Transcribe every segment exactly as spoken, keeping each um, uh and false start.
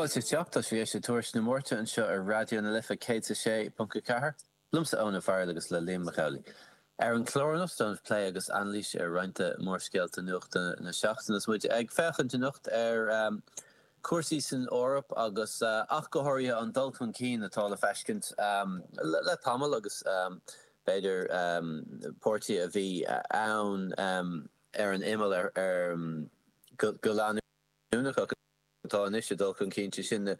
Fáilte isteach tá sibh ag éisteacht le Tuairisc na Máirte anseo ar Raidió na Life céad a sé ponc a ceathair. Liomsa Eoin Ó Fearghail agus le Liam Mac Amhlaigh. Ar an chlár anocht déanamh plé agus anailís ar roinnt de mhórscéalta nuachta na seachtaine is muid ag féachaint anocht ar um, cúrsaí san Eoraip agus uh, ach go háirithe an dul chun cinn atá le feiscint um, le, le tamall agus um, b'fhéidir um, páirtí a bhí ann um, ar an imeall ar, ar um, go, go leanúnach atá anois ag dul chun cinn sin na,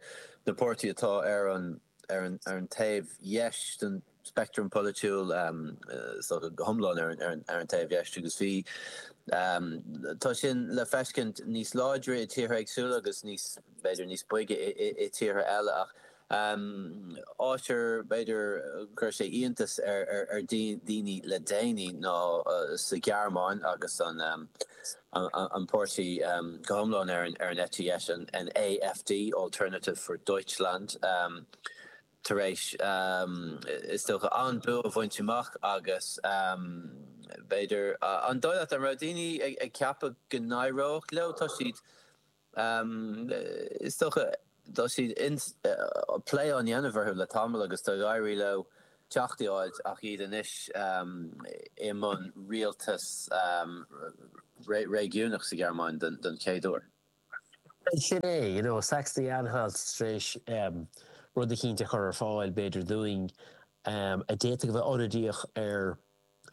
na páirtí atá ar an ar an, ar an taobh dheis den speictream polaitiúil um, so go hiomlán ar, ar, ar an taobh dheis agus bhí um, tá sin le feiscint níos láidre i tíortha éagsúla agus níos b'fhéidir níos boige i tíortha eile ach um, áit ar b'fhéidir chuir sé iontas ar, ar, ar daoine le déanaí ná uh, sa Ghearmáin agus an um, an, an páirtí um, go hiomlán ar an, ar an eite dheis an, an AFD Alternative for Deutschland um, tar éis um, is dócha an bua a bhaint amach agus um, b'fhéidir uh, an dóigh leat an raibh daoine ag, ag ceapadh go n-éireodh leo tá siad um, is dócha tá siad uh, plé á dhéanamh orthu le tamall agus tá éirithe leo teacht áit ach iad anois um, i mbun rialtas um, réigiúnach sa Ghearmáin den, den chéad uair. Sin é, you know, Saxony-Anhalt tar éis um, rud eicínt a chur ar fáil b'fhéidir dúinn um, a d'fhéadfadh a bheith ionadaíoch ar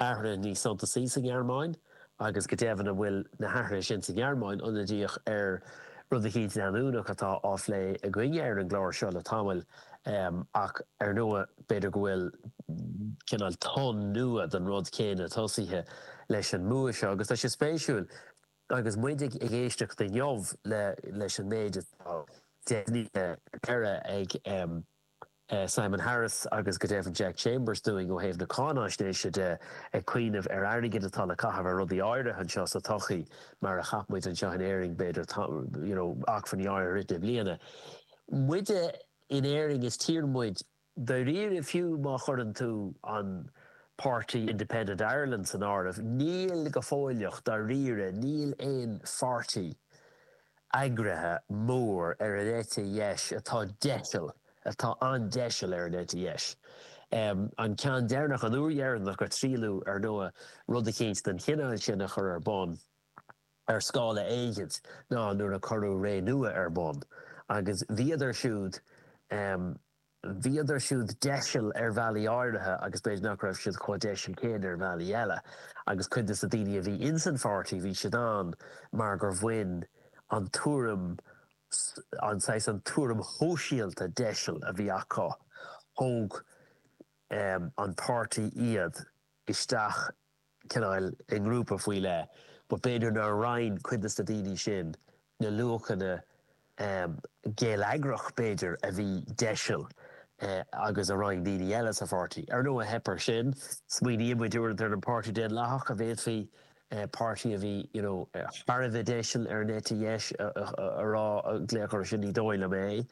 athruithe níos suntasaí sa Ghearmáin agus go deimhin a bhfuil na hathruithe sin sa Ghearmáin ionadaíoch ar rud eicínt leanúnach atá á phlé againne ar an gclár seo le tamall um, ach ar ndóigh b'fhéidir go bhfuil cineál tonn nua den rud céanna tosaithe leis an mbua seo agus tá sé spéisiúil agus muid ag éisteacht inniu le leis an méid atá deimhnithe ag um, uh, Simon Harris agus go deimhin Jack Chambers dúinn ó thaobh na cáinaisnéise de ag cuimhneamh ar airgead atá le caitheamh ar rudaí áirithe anseo sa tsochaí mar a cheap muid anseo in Éirinn b'fhéidir you know, acmhainní áirithe na bliana. Muide in Éirinn is tír muid dáiríre fiú má chuireann tú an Party Independent Ireland san áireamh, níl go fóilleach dáiríre níl aon pháirtí eagraithe mór ar an eite dheis atá deiseal atá an-deiseal ar an eite dheis. Um, an ceann deireanach an uair dheireanach gur triaileadh ar ndóigh rud eicínt den chineál sin a chur ar bun ar scála éigin ná nuair a cuireadh Ré Nua ar bun. agus bhíodar siúd um, bhíodar siúd deiseal ar bhealaí áirithe agus b'fhéidir nach raibh siad chomh deiseal céanna ar bhealaí eile, agus cuid de na daoine a bhí insan pháirtí bhí siad ann mar gur bhain an tuairim an saghas an tuairim shóisialta deiseal a bhí acu thóg um, an páirtí iad isteach cineál i ngrúpa faoi leith, but b'fhéidir nár roinn cuid de na daoine sin na luachanna um, geilleagrach b'fhéidir a bhí deiseal uh, agus a roinn daoine eile sa pháirtí. Ar ndóigh theip air sin, smaoiníonn muid ar an Páirtí Daonlathach a bhféadfaí uh, páirtí a bhí you know, thar a bheith deiseal ar an eite dheis a rá glaoch sin ní dóigh liom é.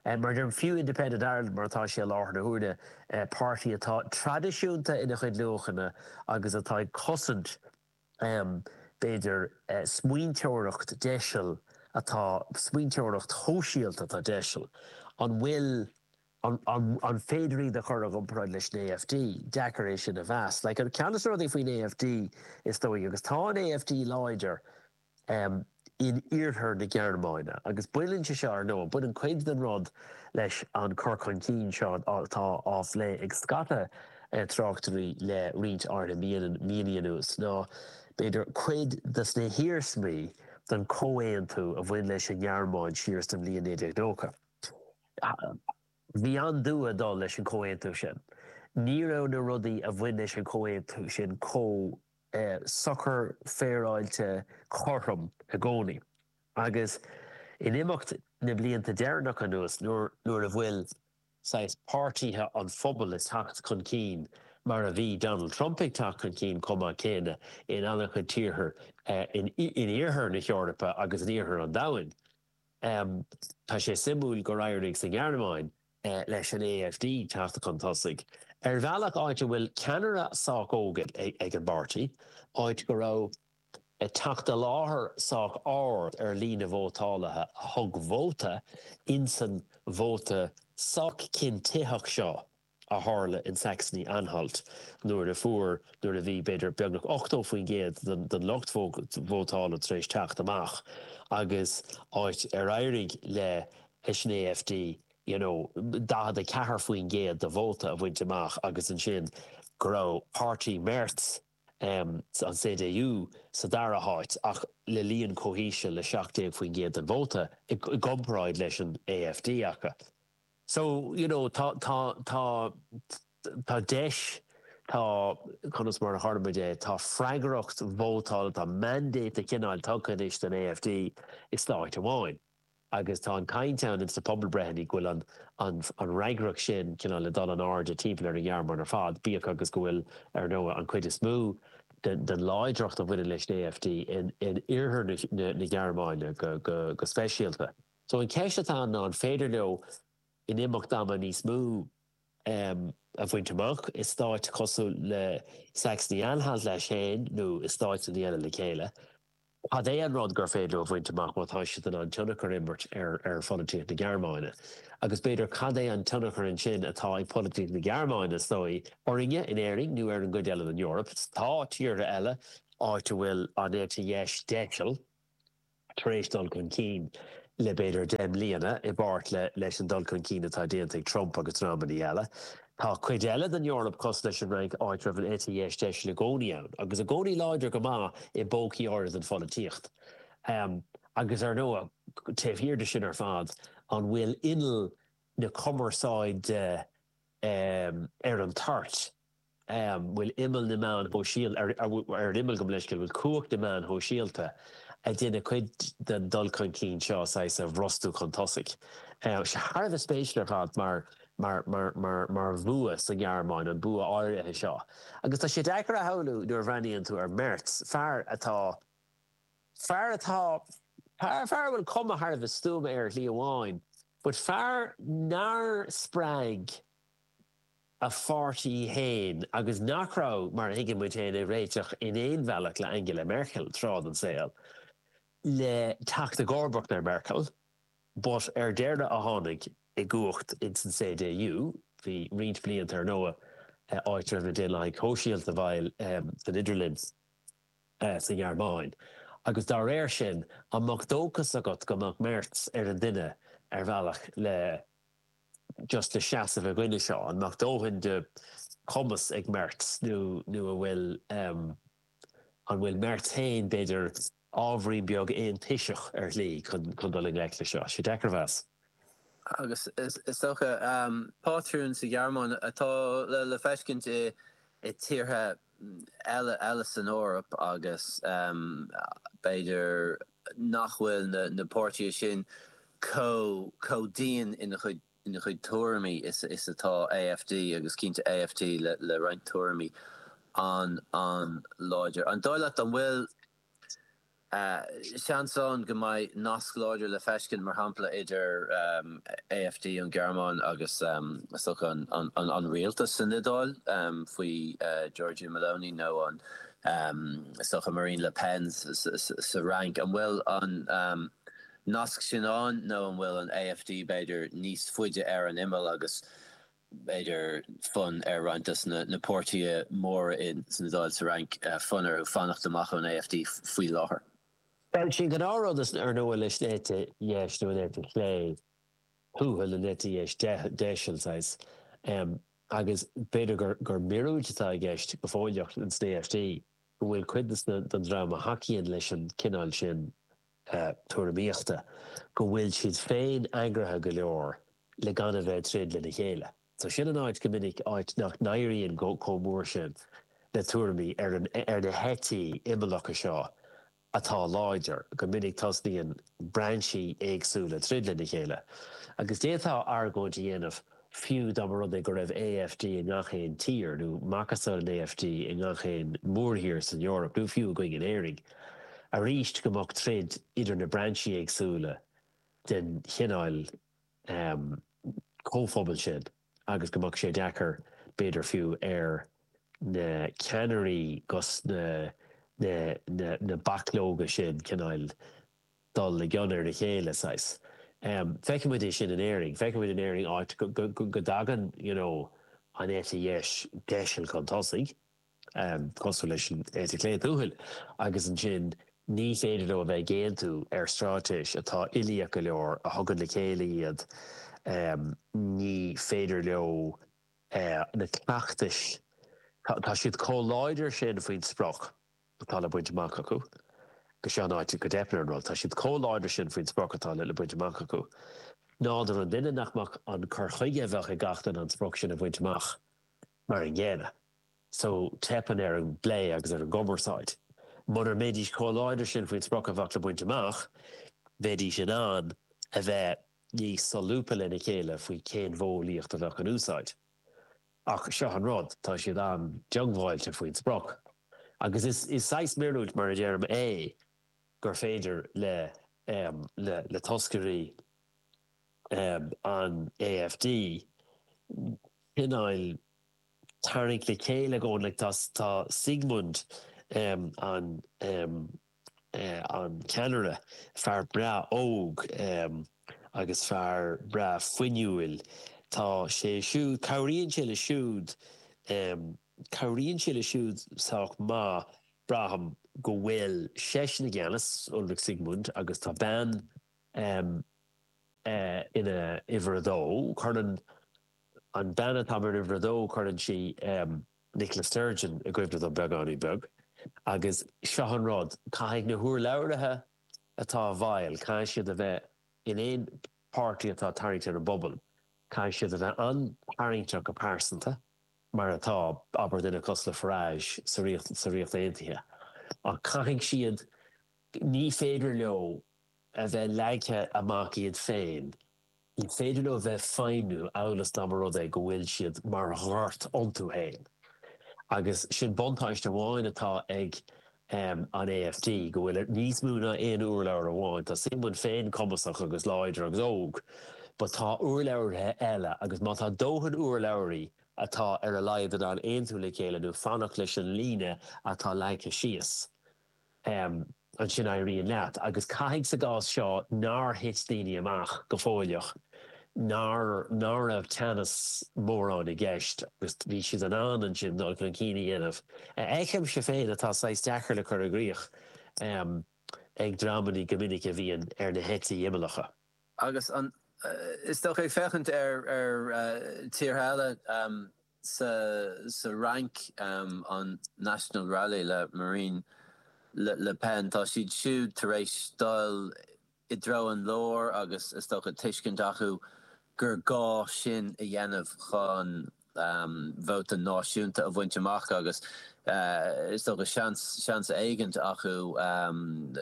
Um, mar deir fiú Independent Ireland mar atá sé láthair na huaire uh, páirtí atá traidisiúnta ina chuid luachanna agus atá ag cosaint um, b'fhéidir uh, smaointeoireacht deiseal atá smaointeoireacht shóisialta atá deiseal. An bhfuil an, an, an féidir iad a chur i gcomparáid leis an AFD, deacair é sin a mheas. Like, an ceann de na rudaí faoin AFD is dóigh agus tá an AFD láidir um, in iarthar na Gearmáine, agus baineann sé seo ar ndóigh, baineann cuid den rud leis an cur chun cinn seo atá á phlé ag scata uh, tráchtairí le roinnt áirithe míonna anuas ná b'fhéidir cuid de na hiarsmaí den chomhaontú a bhain leis an nGearmáin siar sa bhliain naoi déag nócha. Bhí an-dua dul leis an chomhaontú sin. Ní raibh na rudaí a bhain leis an chomhaontú sin chomh eh, socair féaráilte cothrom i gcónaí. Agus in imeacht na blianta deireanach anuas nuair nuair a bhfuil saghas páirtithe an phobail ag teacht chun cinn mar a bhí Donald Trump ag teacht chun cinn chomh maith céanna in an-chuid tíortha eh, in, in iarthar na hEorpa agus in iarthar an domhain. Um, tá sé suimiúil gur éirigh sa Ghearmáin eh, leis an AFD teacht chun tosaigh. Ar bhealach áit a bhfuil ceannaire sách óg ag, ag an bpáirtí, áit go raibh teacht i láthair sách ard ar líon na vótálaithe a thug vóta insan vóta sách cinntitheach seo a tharla in Saxony-Anhalt nuair a fuair nuair a bhí b'fhéidir beagnach ochtó faoin gcéad den lucht vótála tar éis teacht amach agus áit ar éirigh leis an A F D you know, daichead a ceathair faoin gcéad de vóta a bhaint amach agus ansin go raibh páirtí Merz um, an C D U sa dara háit ach le líon chomh híseal le seacht déag faoin gcéad den vóta i gcomparáid leis an A F D acu. So you know, tá tá tá tá deis, tá conas mar a tharla é, tá freagracht vótála, tá mandate de chineál tugtha anois den A F D i stáit amháin. Agus tá an chaint ann ins na pobalbreitheanna go bhfuil an an an fhreagracht sin cineál le dul in airde timpeall ar an Ghearmáin ar fad, bíodh agus go bhfuil ar ndóigh an chuid is mó den, den láidreacht a bhaineann leis an A F D in, in iarthar na, na, na Gearmáine go, go, go speisialta. So an cheist atá ná an féidir leo in imeacht ama níos mó um, a bhaint amach i stáit cosúil le Saxony-Anhalt leis féin nó i stáit an eile le chéile. Cad é an rud gur féidir a bhaint amach má tá siad an tionchar imirt ar ar pholaitíocht na Gearmáine. Agus b'fhéidir cad é an tionchar ansin atá ag polaitíocht na Gearmáine stoi orainne in Éirinn nó ar an gcuid eile den Eoraip. Tá tíortha eile áit a bhfuil an eite dheis deiseal tar éis dul chun cinn le b'fhéidir deich mbliana i bpáirt le leis an dul chun cinn atá déanta ag Trump agus dreamanna eile. Tá cuid eile den Eoraip cosúil leis an Fhrainc áit raibh an eite dheis deiseal i gcónaí ann, agus i gcónaí láidir go maith i bpócaí áirithe den pholaitíocht. Um, agus ar ndóigh taobh thiar de sin ar fad an bhfuil inneall na cumarsáide um, ar an toirt. Um, bhfuil imeall na meán sóisialta ar, ar, ar an imeall go leis bhfuil cumhacht na meán sóisialta a dhéanann cuid den dul chun cinn seo a bhrostú chun tosaigh. Uh, sé thar a bheith spéisiúil ar fad mar mar mar mar mar bhua sa Ghearmáin an bua áirithe seo. Agus tá sé deacair a shamhlú nuair a bhreathnaíonn tú ar Merz, fear atá fear atá fear fear bhfuil cuma thar a bheith stuama ar shlí amháin, but fear nár spreag a pháirtí féin agus nach raibh mar thuigeann muid féin ag réiteach in aon bhealach le Angela Merkel tráth den saol le teacht i gcomharbacht ar Merkel, but ar deireadh a tháinig i gcumhacht in san C D U, bhí roinnt blianta ar ndóigh áit raibh na Daonlathaigh Shóisialta bhil san idirlinn sa Ghearmáin. Agus dá réir sin an mbeadh dóchas agat go mbeadh Merz ar an duine ar bhealach le just le seasamh i gcoinne seo, an mbeadh dóthain de chumas ag Merz nó nó a bhfuil um, an bhfuil Merz féin b'fhéidir ábhairín beag aontoiseach ar shlí chun chun dul i ngleic le seo, sé deacair a mheas. Agus is dócha um, pátrún sa Ghearmáin atá le, le feiscint i, i tíortha eile eile san Eoraip agus um, b'fhéidir nach bhfuil na, na páirtithe sin chomh chomh dian ina chuid ina chuid tuairimí is, is atá A F D agus cinnte A F D le, le roinnt tuairimí an an láidir. An dóigh leat an bhfuil Uh, seans ann go mbeidh nasc láidir le feiscint mar shampla idir um, A F D an Ghearmáin agus um, an, an, an, an rialtas san Iodáil um, faoi uh, Giorgia Meloni nó an um, socha Marine Le Pen sa Fhrainc. An bhfuil an um, nasc sin ann nó an bhfuil an A F D b'fhéidir níos faide ar an imeall agus b'fhéidir fonn ar roinnt de na, na páirtithe móra in san Iodáil sa Fhrainc uh, fonn ar fanacht amach ón A F D faoi láthair. Well sin go árád ar nó leis eite dheis nó an eite chlé thuathail an eite dheis deiseal um, agus b'fhéidir gur gur míorúilt atá i gceist go fóilleach an A F D go bhfuil cuid den dream a thacaíonn leis an cineál sin uh, tuairimíochta go bhfuil siad féin eagraithe go leor le gan a bheith troid lena chéile. So sin an áit go minic áit nach n-éiríonn go chomh mór sin le tuairimí ar, an, ar na heití imeallacha seo atá láidir go minic tosnaíonn brainsí éagsúla troid lena chéile. Agus d'fhéadfá argóint a dhéanamh fiú dá mba rud é go raibh A F D i ngach aon tír nó macasamhail an A F D i ngach aon mórthír san Eoraip nó fiú againn in Éirinn. Arís go mbeadh troid idir na brainsí éagsúla den chineál um, comhphobal sin agus go mbeadh sé deacair b'fhéidir fiú ar na ceannairí gus na na na na bachlóga sin cineál dul i gcion ar a chéile saghas. Um, Feicimid é sin in Éirinn, feicimid in Éirinn áit go, go, go, go dtagann you know, an eite dheis deiseal chun tosaigh, um, cosúil leis an eite chlé tuathail, agus ansin ní féidir leo a bheith ag aontú ar straitéis atá uilíoch go leor a thugann le chéile iad um, ní féidir leo uh, na cleachtais tá siad chomh láidir sin faoin sprioc atá le baint amach acu. Go seo an áit go dteipeann an rud, tá siad chomh láidir sin faoin sprioc atá le baint amach acu. Nádúr an duine nach mbeadh an cur chuige a bheadh ag gach duine an sprioc sin a bhaint amach mar an gcéanna. So teipeann ar an bplé agus ar an gcumarsáid. Mura mbeidís chomh láidir sin faoin sprioc a bheadh le baint amach, bheidís in ann a bheith níos solúbtha lena chéile faoi cén mhodheolaíocht a bheadh in úsáid. Ach seo an rud, tá siad an-diongbháilte faoin sprioc. Agus is, is saghas míorúilt mar a deirim é gur féidir le, um, le, le toscairí um, an AfD cineál tarraingt le chéile go like, tá, tá Siegmund um, an um, uh, an ceannaire fear breá óg um, agus fear breá fuinniúil tá sé siúd cabhraíonn sé le siúd um, cabhraíonn sé le siúd sách maith braithim go bhfuil seisean i gceannas Ulrich Siegmund agus tá bean um, uh, ina uimhir a dó cuireann an bean atá mar uimhir a dó cuireann sí um, Nicola Sturgeon i gcuimhne dom beagáinín beag agus seo an rud caithfidh na hurlabhraithe atá i bhfeighil caithfidh siad a bheith in aon páirtí atá tarraingt ar an bpobal caithfidh siad a bheith an-tarraingteach go pearsanta mar atá abair duine cosúil le Farage sa Ríocht sa Ríocht Aontaithe ach caithfidh siad ní féidir leo a bheith leagtha amach iad féin ní féidir leo bheith feidhmiú amhail is dá mba rud é go bhfuil siad mar ghort iontu féin. Agus sin buntáiste amháin atá ag um, an AfD go bhfuil níos mó ná aon urlabhra amháin, Tá Siegmund féin cumasach agus láidir agus óg, but tá urlabhraithe eile agus má tá dóthain urlabhraí atá ar a laghad in ann aontú le chéile nó fanacht leis an líne atá leagtha síos. Um, ansin éiríonn leat, agus caithfidh sa gcás seo nár thit daoine amach go fóilleach, nár ná raibh teannas mórán i gceist agus bhí siad in ann ansin dul chun cinn a dhéanamh. Feicimse féin atá saghas deacair le cur i gcrích um, ag dreamanna go minic a bhíonn ar na heití imeallacha. Agus an is dócha ag féachaint ar ar uh, tíortha eile um, sa sa Fhrainc um, an National Rally le Marine Le, Le Pen tá siad siúd tar éis dul i dtreo an lár agus is dócha tuiscint acu gur gá sin a dhéanamh chun um, vóta náisiúnta a bhaint amach agus uh, is dócha seans seans éigin acu um,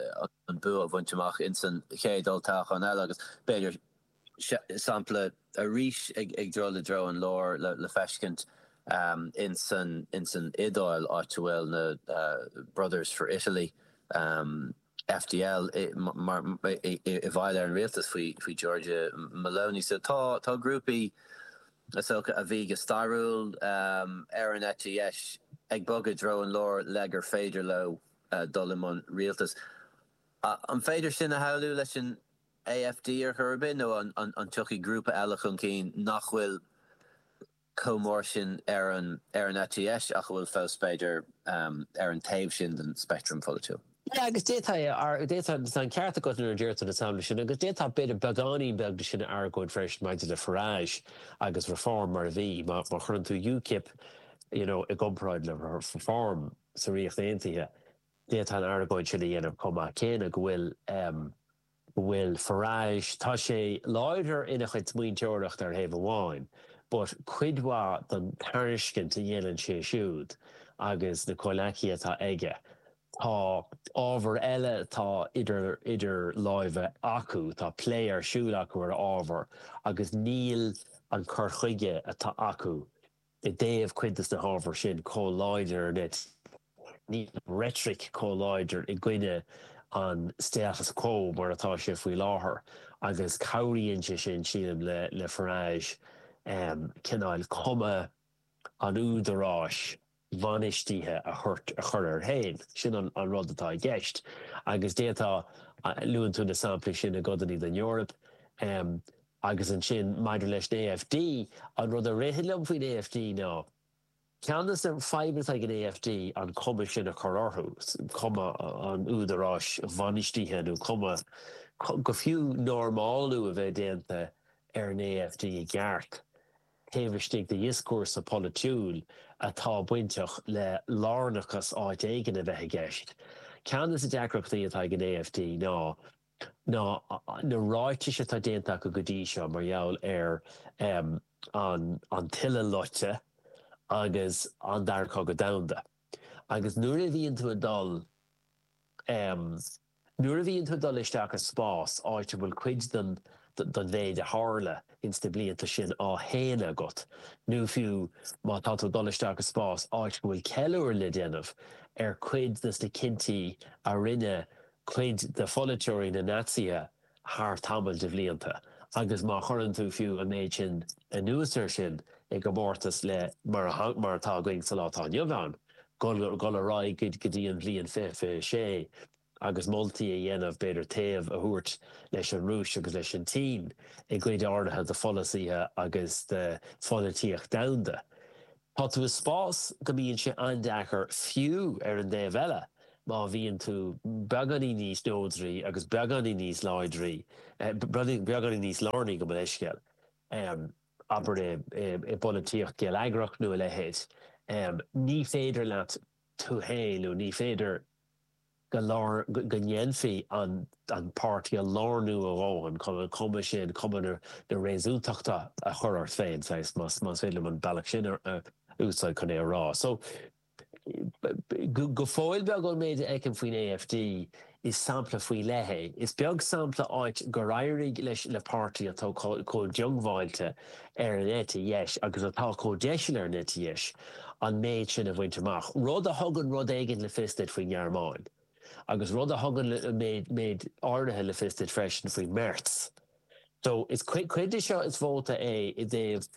an bua a bhaint amach insan chéad olltoghchán eile agus b'fhéidir sampla arís ag ag dul i dtreo an lár le, le feiscint um, insan insan Iodáil áit a bhfuil na uh, Brothers for Italy um, FDL i mar i bhfeighil ar an rialtas faoi faoi Giorgia Meloni so tá tá grúpaí is dócha a bhí go stairiúil um, ar an eite dheis ag bogadh i dtreo an lár le gur féidir leo uh, dul i mbun rialtas. Uh, an féidir sin a shamhlú leis an AfD ar chor ar bith nó an, an, an tiocfaidh grúpa eile chun cinn nach bhfuil chomh mór sin ar an ar an eite dheis ach bhfuil fós b'fhéidir um, ar an taobh sin den speictream polaitiúil. Yeah, agus d'fhéadfá d'fhéadfá an ceart agat nuair a deir tú na samplaí sin agus d'fhéadfá b'fhéidir beagáinín beag de sin argóint freisin maidir le Farage agus Reform mar a bhí má má chuireann tú UKIP you know, i gcomparáid le Reform sa Ríocht Aontaithe. D'fhéadfá an argóint sin a dhéanamh chomh maith céanna go bhfuil um, go bhfuil Farage tá sé láidir ina chuid smaointeoireacht ar thaobh amháin, but cuid mhaith den tairiscint a dhéanann sé siúd agus na comhghleacaithe atá aige. Tá ábhar eile atá idir idir láimhe acu, tá plé ar siúl acu ar ábhar agus níl an cur chuige atá acu i dtaobh cuid de na hábhair sin chomh láidir net. Níl rhetoric chomh láidir i gcoinne an status quo mar atá sé faoi láthair agus cabhraíonn sé sin sílim le le Farage um, cineál cuma an údaráis bhainistithe a thabhairt a chur air féin. Sin an an rud atá i gceist. Agus d'fhéadfá, luann tú na samplaí sin i gcodanna den Eoraip, agus ansin maidir leis an AfD, an rud a ritheann liom faoin AfD ná, ceann de na fadhbanna atá ag an AfD an cuma sin a chur orthu, cuma an údaráis bhainistithe nó cuma, go fiú normálú a bheith déanta ar an AfD i gceart taobh istigh de dhioscúrsa polaitiúil atá bainteach le lárnachas áit éigin a bheith i gceist. Ceann de na deacrachtaí atá ag an AfD ná ná na ráitis atá déanta acu go dtí seo mar gheall ar an an tuile loite agus an Dara Cogadh Domhanda. Agus nuair a bhíonn tú ag dul Nuair a bhíonn tú ag dul isteach i spás, áit a bhfuil cuid den den mhéid a tharla ins na blianta sin á shéanadh agat, nó fiú má tá tú ag dul isteach i spás, áit go bhfuil ceiliúradh le déanamh ar chuid des na cinntí a rinne cuid de pholaiteoirí na Naitsithe thar tamall de bhlianta, agus má chuireann tú fiú an méid sin anuas air sin i gcomórtas le mar mar atá againn sa lá atá inniu ann, dul ar aghaidh go dtí an bhliain fiche fiche sé agus moltaí a dhéanamh, b'fhéidir taobh a thabhairt leis an Rúis agus leis an tSín i gcuid áirithe de pholasaithe agus de pholaitíocht domhanda. Tá tú i spás go mbíonn sé an-deacair fiú ar an dtaobh eile má bhíonn tú beagáinín níos neodraí agus beagáinín níos láidrí, beagáinín níos lárnaí gabh mo leithscéal, abair i bpolaitíocht gheilleagrach nó a leithéid. Ní féidir leat tú féin nó ní féidir go lár, go ndéanfaí an páirtí a lárnú a dhóthain chun an chuma sin, cuma na réasúntachta a chur ort féin, saghas, más féidir liom an bealach sin a úsáid chun é a rá. So, go fóill beag ón méid a fheicim faoin AfD, is sampla faoi leith é. Is beag sampla áit gur éirigh leis le páirtí atá chomh diongbháilte ar an eite dheis agus atá chomh deiseal ar an eite dheis an méid sin a bhaint amach, rud a thugann rud éigin le fios duit faoin nGearmáin agus rud a thugann méid áirithe le fios duit freisin faoi Merz. So is cuid de seo is vóta é i dtaobh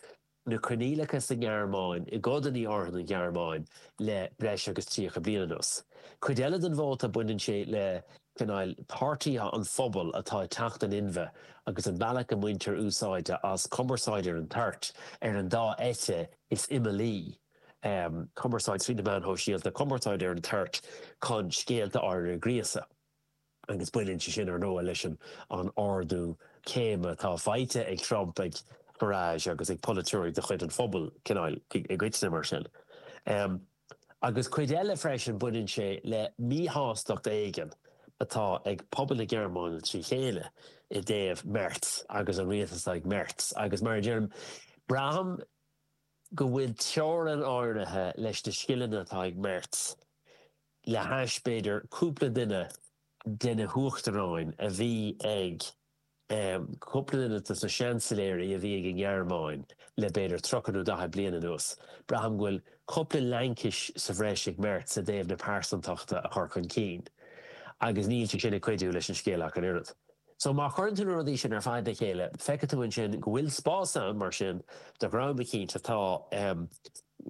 na coinníollacha sa nGearmáin, i gcodanna áirithe den Ghearmáin le breis agus tríocha bliain anuas. Cuid eile den vóta baineann sé le cineál páirtithe an phobail atá ag teacht in inmhe agus an bealach a mbaintear úsáid as cumarsáid ar an toirt ar an dá eite is imeallaí, cumarsáid trí na meáin shóisialta, cumarsáid ar an toirt chun scéalta áirithe a ghríosadh. Agus baineann sé sin, ar ndóigh, leis an ardú céime atá faighte ag Trump, ag Farage agus ag polaiteoirí de chuid an phobail, cineál, i gcoitinne, mar sin. Agus cuid eile freisin, baineann sé le míshástacht éigin atá ag pobal na Gearmáine trí chéile i dtaobh Merz agus an rialtas atá ag Merz. Agus mar a deirim, braithim go bhfuil teorainn áirithe leis na scileanna atá ag Merz le hais, b'fhéidir, cúpla duine de na huachtaráin a bhí ag, cúpla duine de na seansailéirí a bhí ag an nGearmáin le b'fhéidir tríocha nó daichead bliain anuas. Braithim go bhfuil cúpla laincis sa bhreis ag Merz i dtaobh na pearsantachta a chur chun cinn agus níl sé sin ag cuidiú leis an scéal ach an oiread. So má chuireann tú na rudaí sin ar fad le chéile, feicfidh tú ansin go bhfuil spás ann, mar sin, do dhream eicínt atá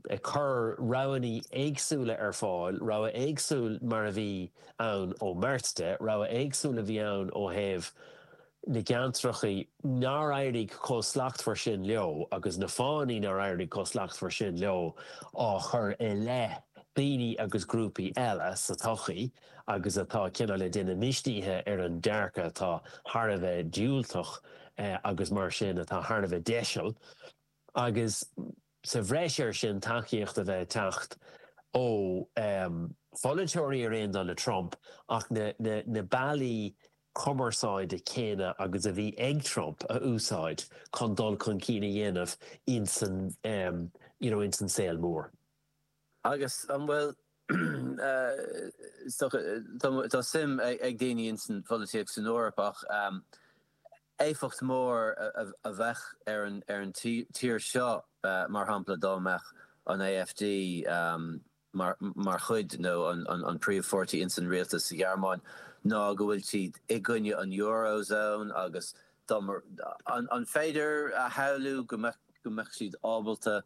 ag cur roghanna éagsúla ar fáil, rogha éagsúil mar a bhí ann ó Merz de, rogha éagsúil a bhí ann ó thaobh na gceantrachaí nár éirigh chomh slachtmhar sin leo agus na fáthanna nár éirigh chomh slachtmhar sin leo á chur i leith daoine agus grúpaí eile sa tsochaí agus atá cineál ag déanamh mistíthe ar an dearcadh atá thar a bheith diúltach agus mar sin atá thar a bheith deiseal agus sa bhreis air sin tacaíocht a bheith ag teacht ó pholaiteoirí ar aon dul le Trump ach na na bealaí cumarsáide céanna agus a bhí ag Trump a úsáid chun dul chun cinn a dhéanamh insan you know insan saol mór. Agus an bhfuil, is dócha, tá suim ag daoine ins an pholaitíocht san Eoraip ach éifeacht mhór a bheadh ar an tír seo, mar shampla, dá mbeadh an AfD mar chuid nó an príomhpháirtí ins an rialtas sa Ghearmáin ná go bhfuil siad i gcoinne an Eurozone agus dá, an féidir a shamhlú go mbeadh siad ábalta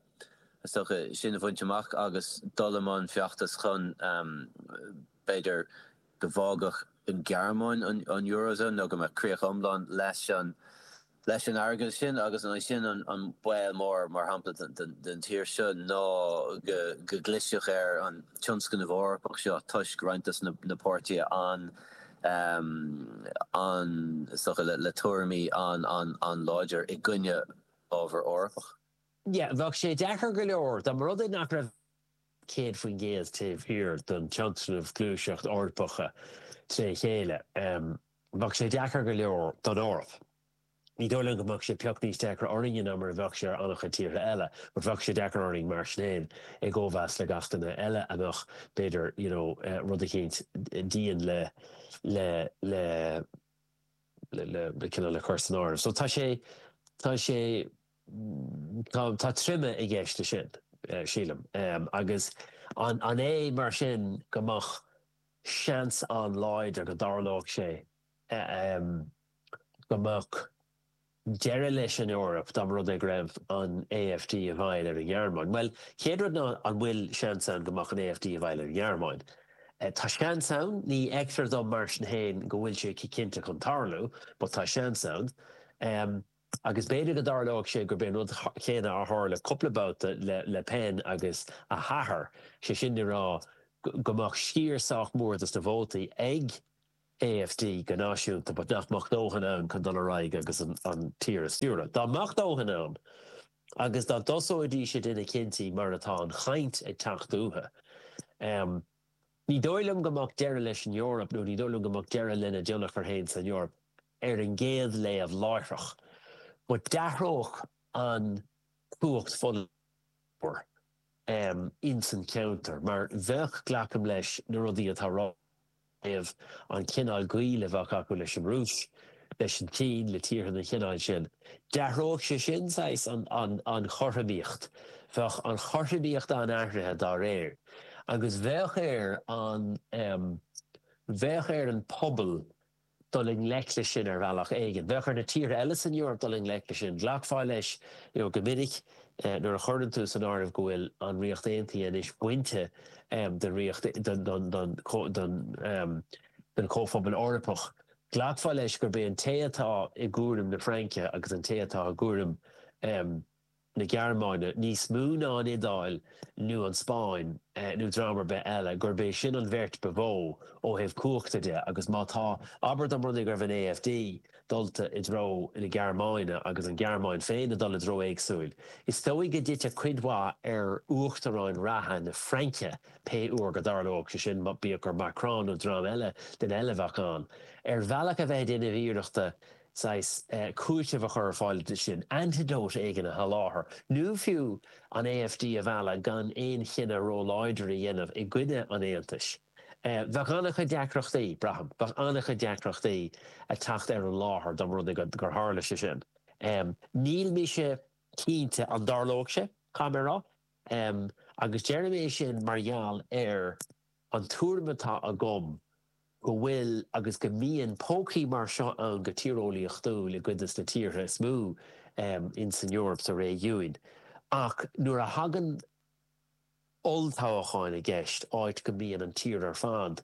is dócha, sin a bhaint amach agus dul i mbun feachtas chun b'fhéidir go bhfágfadh an Ghearmáin an Eurozone nó go mbeadh críoch iomlán leis an leis an airgead sin agus an é sin an baol mór mar shampla don tír seo ná go go gclisfeadh ar an tionscnamh Eorpach seo toisc roinnt de na páirtithe an an is dócha le tuairimí an an an-láidir i gcoinne ábhar Eorpach. Yeah, bheadh sé deacair go leor dá mba rud é nach raibh céad faoin gcéad taobh thiar den tionscnamh gluaiseacht Eorpach tré chéile. Bheadh sé deacair go leor don Eoraip. Ní dóigh liom go mbeadh sé pioc níos deacra orainne ná mar a bheadh sé ar an-chuid tíortha eile, but bheadh sé deacair orainn mar sin féin i gcóimheas le gach duine eile a mbeadh, b'fhéidir, you know, rud eicínt dian le, le, le, le, le cineál le cur san áireamh. So tá sé, tá sé, Tá troime i gceist leis sin, sílim. Agus an é mar sin go mbeadh seans an-láidir go dtarlódh sé go mbeadh deireadh leis an Eoraip dá mba rud é go raibh an AfD i bhfeighil ar an nGearmáin? Bhuel, chéad rud ná an bhfuil seans ann go mbeadh an AfD i bhfeighil ar an nGearmáin? Tá seans ann, ní fheictear dom mar sin féin go bhfuil sé cinnte chun tarlú, but tá seans ann. Agus b'fhéidir go dtarlódh sé gurb é an rud céanna a tharla cúpla babhta le Le Pen agus a hathair, sé sin le rá go mbeadh sciar sách mór dos na vótaí ag AfD go náisiúnta but nach mbeadh dóthain ann chun dul ar aghaidh agus an tír a stiúradh. Dá mbeadh dóthain ann agus dá dtosóidís ag déanamh cinntí mar atá an chaint ag teacht uathu, ní dóigh liom go mbeadh deireadh leis an Eoraip nó ní dóigh liom go mbeadh deireadh lena dtionchar féin san Eoraip. ar an gcéad léamh láithreach, but d'athródh an cumhacht pholaitiúil ins an cheantar, mar bheadh, glacaim leis, na rudaí atá ráite ó thaobh an cineál gaoil a bheadh acu leis an Rúis, leis an tSín, le tíortha den chineál sin. D'athródh sé sin saghas an chothromaíocht, bheadh an chothromaíocht an-athraithe dá réir, agus bheadh ar an, bheadh ar an pobal dul i ngleic leis sin ar bhealach éigin. Bheadh ar na tíortha eile san Eoraip dul i ngleic leis sin. Ghlacfá leis you know go minic nuair a chuireann tú san áireamh go bhfuil an Ríocht Aontaithe anois bainte den Ríocht den den den den den Chomhphobal Eorpach, ghlacfá leis gurb é an té atá i gcúram na Fraince agus an té atá i gcúram na Gearmáine, níos mó ná an Iodáil nó an Spáinn nó dream ar bith eile, gurb é sin an bheirt ba mhó ó thaobh cumhachta de agus má tá, abair dá mba rud é go raibh an AfD dulta i dtreo na Gearmáine agus an Ghearmáin féin ag dul i dtreo éagsúil, is dóigh go dtitfeadh cuid mhaith ar uachtaráin reatha na Fraince pé uair go dtarlódh sé sin, bíodh gur Macron nó dream eile, duine eile a bheadh ann, ar bhealach a bheith ag déanamh iarrachta saghas cúiteamh a chur ar fáil de sin, antidote éigin a sholáthar, nó fiú an AfD a mhealladh gan aon chinneadh róláidir a dhéanamh i gcoinne an Aontais. Bheadh an-chuid deacrachtaí, braithim, bheadh an-chuid deacrachtaí ag teacht ar an láthair dá mba rud é gur tharla sé sin. Níl mise cinnte an dtarlóidh sé, caithfidh mé a rá, agus deirim é sin mar gheall ar an tuairim atá agam go bhfuil agus go mbíonn pócaí mar seo ann go tíreolaíochtúil i gcuid de na tíortha is mó ins an Eoraip sa réigiún. Ach nuair a thagann olltoghcháin i gceist, áit go mbíonn an tír ar fad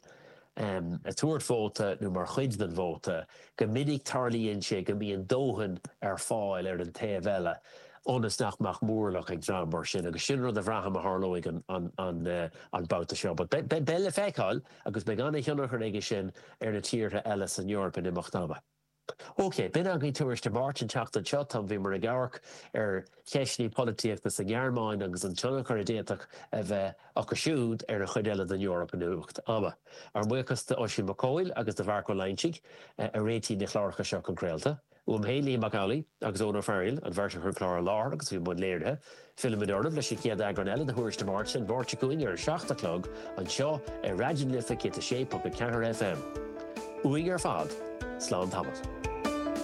ag tabhairt vóta nó mar chuid den vóta, go minic tarlaíonn sé go mbíonn dóthain ar fáil ar an taobh eile ionas nach mbeadh mórlach ag dream mar sin agus sin rud a bhraithim a tharlóidh an babhta seo. But beidh le feiceáil agus beidh an-thionchar aige sin ar na tíortha eile san Eoraip in imeacht ama. Ok, b'in againn Tuairisc Dé Máirt an tseachtain seo. Tá, bhíomar ag amharc ar cheisteanna polaitíochta sa nGearmáin agus an tionchar a d'fhéadfadh a bheith acu siúd ar an chuid eile den Eoraip in imeacht ama. Ár mbuíochas d'Oisín Mac Cóil agus do Mharc Ó Loingsigh a réitigh na cláracha seo chun craolta. Uaim féin, Liam Mac Amhlaigh, agus Eoin Ó Fearghaíl, an bheirt a chuir an clár i láthair agus a bhí i mbun léirithe. Fillfimid oraibh leis an chéad eagrán eile de Thuairisc Dé Máirt an Mháirt seo chugainn ar a seacht a chlog anseo ar Raidió na Life céad a sé ponc a ceathair FM. Uainn ar fad, slán tamall.